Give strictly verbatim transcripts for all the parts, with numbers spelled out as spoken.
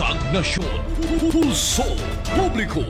Tagnasyon, Pulso Publiko.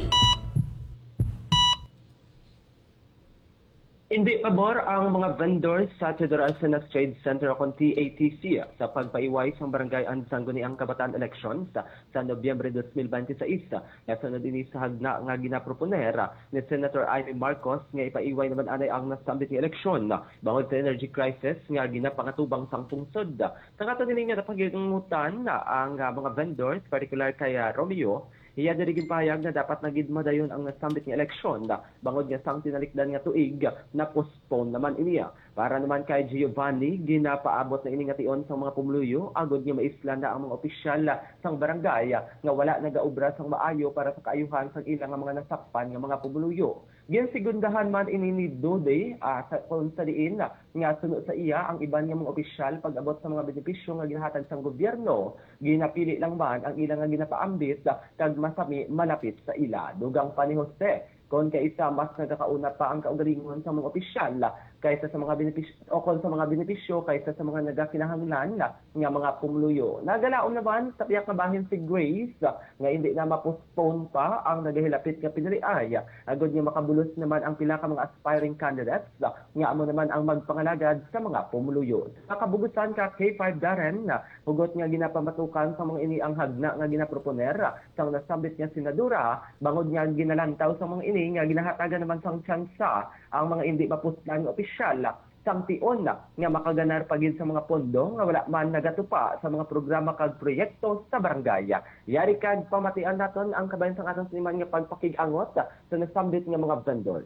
Hindi pabor ang mga vendors sa Teodoro Arcenas Trade Center o kon T A T C sa pagpaiway sang barangay ang Sangguniang Kabataan Elections sa Nobyembre dos mil bente seis. Nasunod ini sa hagna nga ginaproponer ni Senator Imee Marcos nga ipaiway naman anay ang nasambit nga eleksyon bangod sa energy crisis nga ginapangatubang sang pungsod. Sa kato nini nga napagiangutan ang, ah, mga vendors, partikular kay, ah, Romeo, iya diri ginpahayag nga dapat na gid madayon ang nasambit nga eleksyon, bangod nga sang tinalikdan nga tuig, na-postpone naman ini. Para naman kay Giovanni, ginapaabot na ini nga tion sang mga pumuluyo, agod nga maislan na ang mga opisyal sang barangay nga wala nagaobra sang maayo para sa kaayuhan sang ila nga mga nasakpan nga mga pumuluyo. Ginsegundahan man ini ni Dode, ah, sa, kung sa diin nga suno sa iya ang iban nga mga opisyal pag-abot sa mga benepisyo nga ginahatag sang gobyerno, ginapili lang man ang ila nga ginapaambit kag masami malapit sa ila. Dugang pa ni Jose, kon kaisa mas nagakauna pa ang kaugalingon sa mga opisyal kaysa sa mga benepis-, o kon sa mga benepisyo kaysa sa mga nagakinahanglan nga mga pumuluyo. Nagalaom naman sa pihak nga bahin si Grace nga indi na ma-postpone pa ang nagahilapit nga piniliay, agod nga makabulos naman ang pila ka mga aspiring candidates nga amo naman ang magpangalagad sa mga pumuluyo. Sa kabugusan ka, K five Darren, hugot nga ginapamatukan sa mga ini ang hagna nga ginaproponer sang nasambit nga senadora, bangod nga ginalantaw sa mga ini nga ginahatagan naman sang tsansa ang mga indi mapuslan nga opisyal sang tion nga makaganar pa gid sa mga pondo nga wala man nagatupa sa mga programa kag proyekto sa barangay. Yari kag pamatian naton ang kabahin sang aton siniman nga pagpakig-angot sa nasambit nga mga vendor.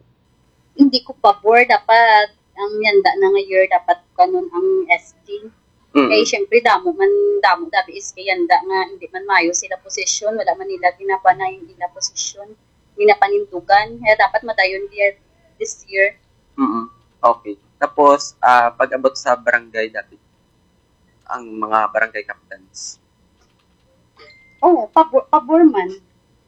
Hindi ko pabor, dapat ang yanda na nga year dapat kanon ang S T. Mm. Kay syempre damo man, damo dabi is kay yanda nga hindi man mayo sila posisyon, wala man nila ginapanay ang ila posisyon, ginapanindugan. Kaya dapat madayon year, this year. Mm. Okay. Tapos, ah, pag-abot sa barangay, dapat ang mga barangay captains. Oo, pabor, pabor man.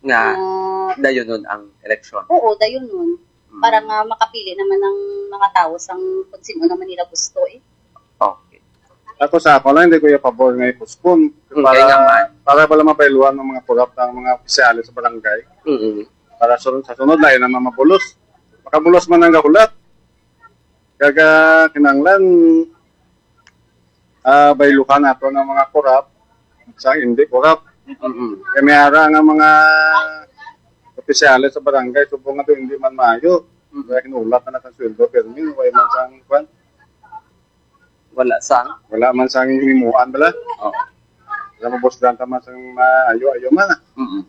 Nga Ah, dayonon ang eleksyon. Oo, dayonon. Mm. Para nga makapili naman ang mga tao sang kung sino naman nila gusto eh. Okay. Ako sa ako lang, hindi ko yung pabor nga i-postpone. Mm, para, kaya nga man. Para pala mapailuan ng mga korap ng mga opisyales sa barangay. Mm. Para sa, sa sunod na, yun naman mabulos. Makabulos man ang gahulat. Kaga kinanglan, ah, bayluhan nato ng mga korap sa hindi korap. Mm-mm. Kaya may ara nga mga opisyales sa barangay, subong nga to hindi man maayo. Mm. Kaya kinulat na sa sweldo, pero yun, wala man sang kwan. Wala sang? Wala man sang himuan bala. Oo. Wala mabusdan ta man sang maayo-ayo man. Mm-mm.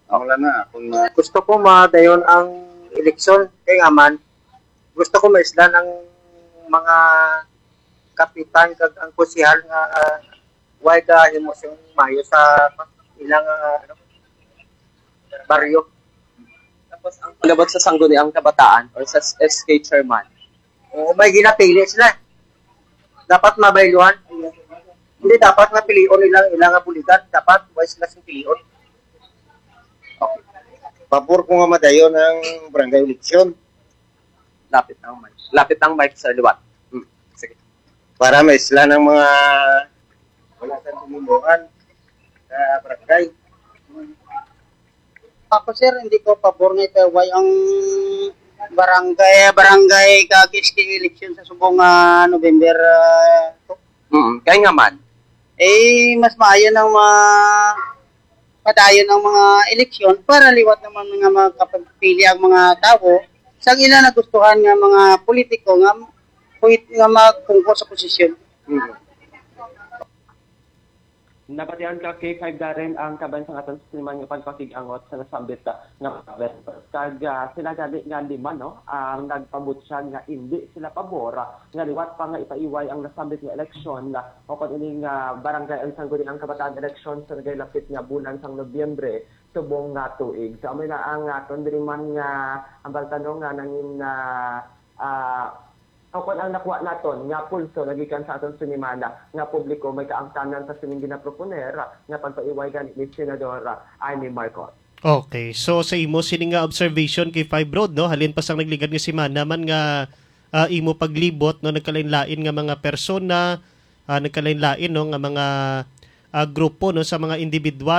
Wala na, kung ma- Gusto ko madayon ang eleksyon, kay nga man, gusto ko maislan ang mga kapitan kag ang konsehal nga, ah, way ka himo sing mayo sa ilang, ah, ano, baryo. Tapos ang pag-abot sa Sangguniang Kabataan or sa S K chairman. Oo, may ginapili sila. Dapat mabayluhan. Hindi dapat nga pilion nila ilang nga buligan. Dapat way sila sing pilion. Okay. Pabor ko nga madayon ang barangay eleksyon. Lapit ang mic. Lapit ang mic sa liwat. Hmm. Sige. Para maislan ang mga wala sa pumuluan sa barangay. Ako, sir, hindi ko pabor nga ipaiway ang barangay, barangay kag S K election sa subong nga November, ah, two. Mm, kay nga man. Eh, mas maayo nang ma-, padayon ang mga eleksyon para liwat naman nga makapagpili ang mga tawo sa ila nagustuhan nga mga politiko nga puwit-, nga magpungko sa posisyon. Mm. Nabatian ka, K five Darren, ang kaban sang aton siniman nga pagpakig-angot sa nasambit, ah, nga province. Kag, ah, sila gani nga lima, no, ang nagpabutyag nga indi sila pabor, ah, nga liwat pa nga ipaiway ang nasambit nga eleksyon, ah, o kon ini nga barangay ang Sangguniang Kabataan eleksyon sa nagailapit nga bulan sang Nobyembre subong nga tuig. So, amo na ang aton diri man nga ang pagtanong nga nangin, ah, ah, o kon ang nakuha naton nga pulso nagikan sa aton sinimana nga publiko may kaangtanan sa sining ginaproponer nga pagpaiway gani ni Senador Imee Marcos. Okay. So, sa imo sini nga observation kay Five Road, no, halin pa sang nagligad nga semana man nga, ah, imo paglibot, no, nagkalain-lain nga mga persona, ah, nagkalain-lain, no, nga mga, ah, grupo, no, sa mga individual